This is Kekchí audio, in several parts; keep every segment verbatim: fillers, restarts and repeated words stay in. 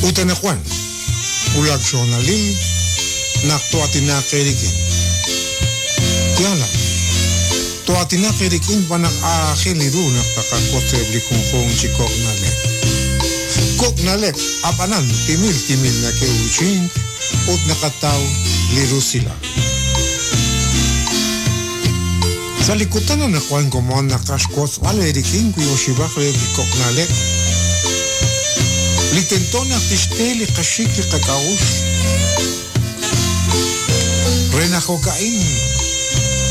Ut anaqwan wulak xhoonalil naq to'atinaq eerik'in. Yaal a'in, to'atinaq eerik'in xb'aan naq aajel ru naq taqawotz eb' li junjunq chi kok' na'leb'. Kok' na'leb', ab'anan timil timil nake'uuchink ut naqataw li rusilal. Sa' li kutan anaqwan komon naqaj xwotzb'al eerik'in wi oxib'aq reheb' li kok' na'leb' li tento naq tixte li qaxik li qak'a'uxl re naq jo'ka'in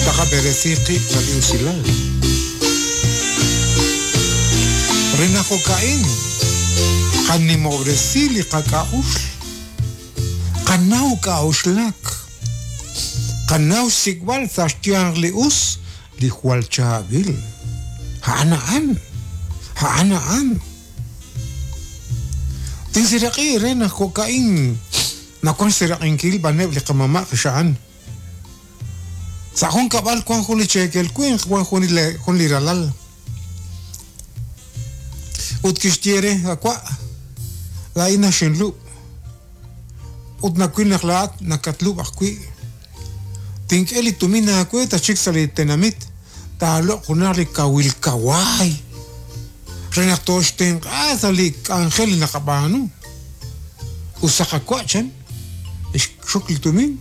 taqab'eresi qib' sa' li usilal. Re naq jo'ka'in qanimob'resi li qak'a'uxl, qanaw k'a'uxlak, qanaw xsik'b'al sa' xyanq li us li jwal chaab'il. A'an a'an, a'an a'an. Tinseraq'i re naq jo'ka'in nawank xseraq'inkil b'aneb' li qamama' qixa'an. Sa' jun kab'al wank jun li cheekel winq, wank jun li jun li ralal. Ut kixye re, Awa', laa'in naxinlub' ut nawil naq laa'at nakatlub' ajwi'. Tink'e li tumin aawe tachik sa' li tenamit, taaloq' junaq li kawil kawaay re naq tooxtenq'a sa' li k'anjel li naqab'aanu. Us saqawa' chan, xxok li tumin,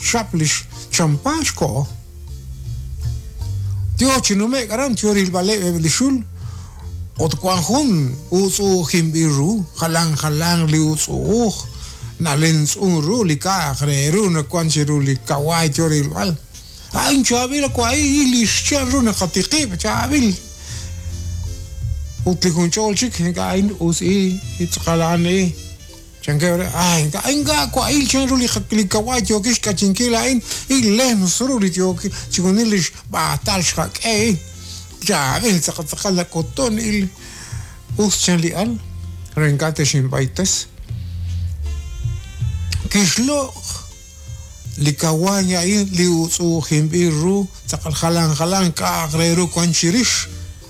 xchap li xchampa xkoho. Yo chi nume'k aran yo rilb'aleb' eb' li xul ut wank jun utz'u'ujinb'il ru, jalan jalanq li utz'u'uj nalemtz'un ru li k'a'aq re ru nawank chiru li kawaay yo rilb'al. A'in chaab'il wa'in li xchan ru naqatiqib', chaab'il. Ut li junch'ol chik ink'a' a'in us i tz'aqal a'an i. Chankeb' re, ay ink'a' ink'a' wa'il chan ru li li kawaay yookil xk'achinkil a'in il lems ru li yookil chixjunil li xb'aatal xqak'e i. Chaab'il tz'aqal tz'aqal nak'utun il us chan li al re ink'a' texinb'aytes. Kixloq' li kawaay a'in li utz'u'ujinb'il ru tz'aqal jalan jalan k'a'aq re ru wank chirix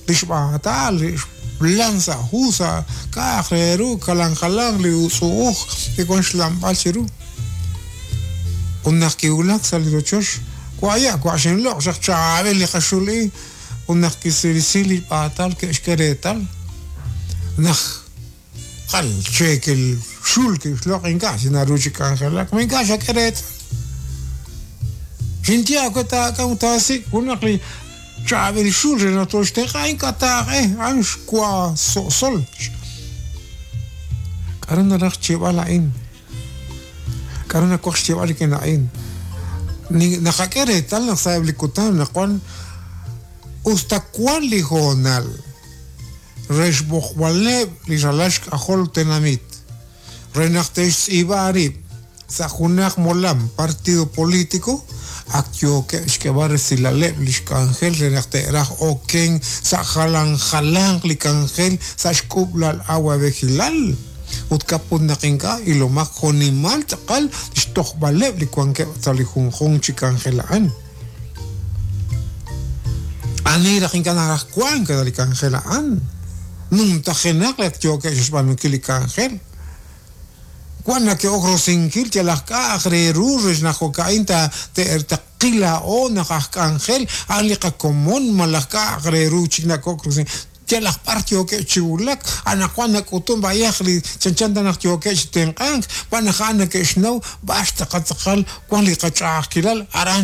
li xb'aatal li xlan sa' hu sa' k'a'aq re ru jalan jalan li utz'u'uj li wank xlanb'al chiru. Ut naq kiwulak sa' li rochoch, wa'ya' wa' xinloq' xaq chaab'il li qaxul i ut naq kisirisi li b'aatal ke'xk'e reetal naq qal cheekel xul kixloq' ink'a' chi naru chi k'anjelak, ma ink'a' xak'e reetal. Xinye aawe taak'am taasik' junaq li chaab'il xul re naq tooxtenq'a ink'a' taaq'e a'an xwa so'sol. K'aru naraj xyeeb'al a'in? K'aru nawaj xyeeb'al rik'in a'in? Naqak'e reetal naq sa'eb' li kutan naq wan usta wank li hoonal re xb'oqb'aleb' li ralal xk'ajol tenamit re naq te'xtz'iib'a rib' sa' junaq molam partido político ak yookeb' xk'eb'al resilaleb' li xk'anjel re naq te'raj oken sa' jalan jalanq li k'anjel sa' xk'ub'lal awab'ejilal ut kaput naq ink'a' ilomaq jo'nimal tz'aqal xtojb'aleb' li wankeb' sa' li junjunq chi k'anjel a'an. Ani raj ink'a' naraj wank sa' li k'anjel a'an. Numtajenaq li ak yookeb' xb'aanunkil li k'anjel. Wan nake'ok rosinkil yalaq k'a'aq re ru re naq jo'ka'in ta te'taqil laa'o naq aj k'anjel a'an li qakomon malaj k'a'aq re ru chik nakok rosinkil. Yalaq b'ar yookeb' chi wulak anaqwan nak'utun b'ayaq li chanchan ta naq yookeb' chi tenq'ank b'an naq a'an nake'xnaw b'ar tz'aqal tz'aqal wan li qach'a'ajkilal aran